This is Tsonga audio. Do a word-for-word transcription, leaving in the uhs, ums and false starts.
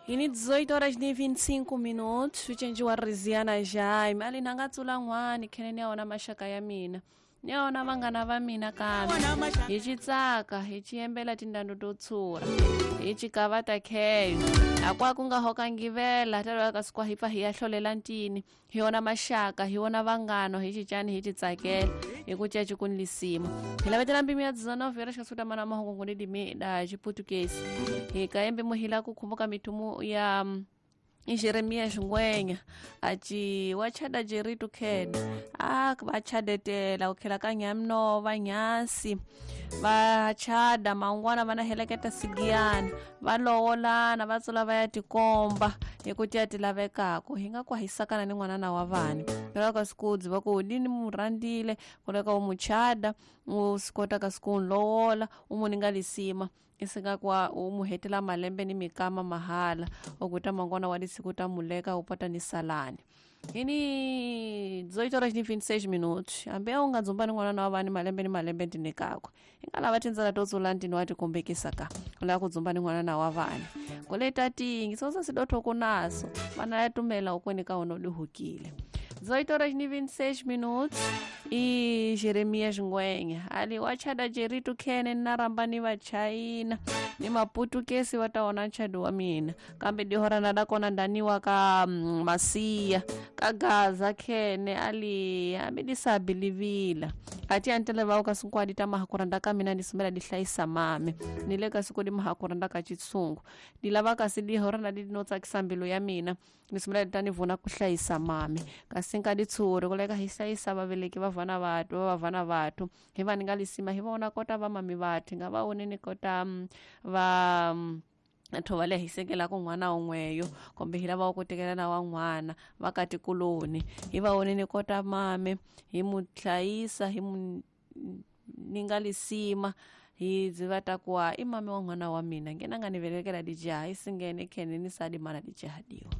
Ini dezoito horas ni vinte e cinco minutos ucenjiwa Riziana Jaime ali nanga tsula n'wani khene ni ya wona maxaka ya mina ni ya wona vanghana va mina kambe hi ci tsaka hi ci yembela tindando to tshura hi ci kavata kheyo akwa ku nga hokangivela talo ka sikwa hi pfa hi ya hlolela ntini hi wona maxaka hi wona vanghano hi cicani hi ci tsakela hi ku caci ku lisima hi lavetela mbimi ya dezenove horas kasuta mana mahungu ni dimi da xiputukezi hi kayembe muhila ku khumbuka mithumu ya Jeremias Ngwenya aci wachada Jeritu khene a vachadetela ku khela ka Nyamnova Nyasi vachada mangwana va na heleketa sigiyana va lowolana va tsula va ya tikomba hi ku tiya ti lavekako hi nga ku hisakana ni n'wanana wa vani loko ka sikudzi va ku ni mu rhandzile ku leka u muchada u swi kota ka siku n'wi lowola u mu ninga lisima isinga kwa u mu hetela malembe ni mikama mahala okuta mangwana wa disiku ta muleka upata ni salani ini dezoito horas ni vinte e seis minutos ambe u nga dzumba ni n'wana wa vani malembe ni malembe ndinikakwe i nga lava tindzela to tsula ntini wa tikombekisa ka u lava ku dzumba ni n'wanana wa vani koleta tingi sosa sidotho kunaso vana ya tumela ukweni ka wona u dihukile dezoito horas ni vinte e seis minutos e Jeremias Ngwenya ali wachada Jeritu khene na ramba ni vachayina ni maputukesi va ta wona nchado wa mina kambe dihorana da kona ndaniwa ka mm, masiya ka Gaza khene ali hambi disabilivila ati antele va ka sinkwadi ta mahakuranda ka mina ni sumela di hlayisa mame ni le ka siku di mahakuranda ka chitsungu di lava kasi dihorana di no tsakisa mbilu ya mina ni sumela di ta ni vona ku hlayisa mame kasi nka di tshuri ku leka hi hlayisa vaveleki va vana vathu va vana vathu hi va ni nga lisima hi vona kota va mami vathu nga va woneni kota va thova le hi sekela ku n'wana un'weyo kumbe hi lava ku tekela na wa n'wana va ka tikuloni hi va woneni kota mame hi mu hlayisa hi mu ni nga lisima hi byi va ta kuwa i mame wa n'wana wa mina ngena nga ni velekela dijaha i singene khene ni sadi mana dijaha diwa.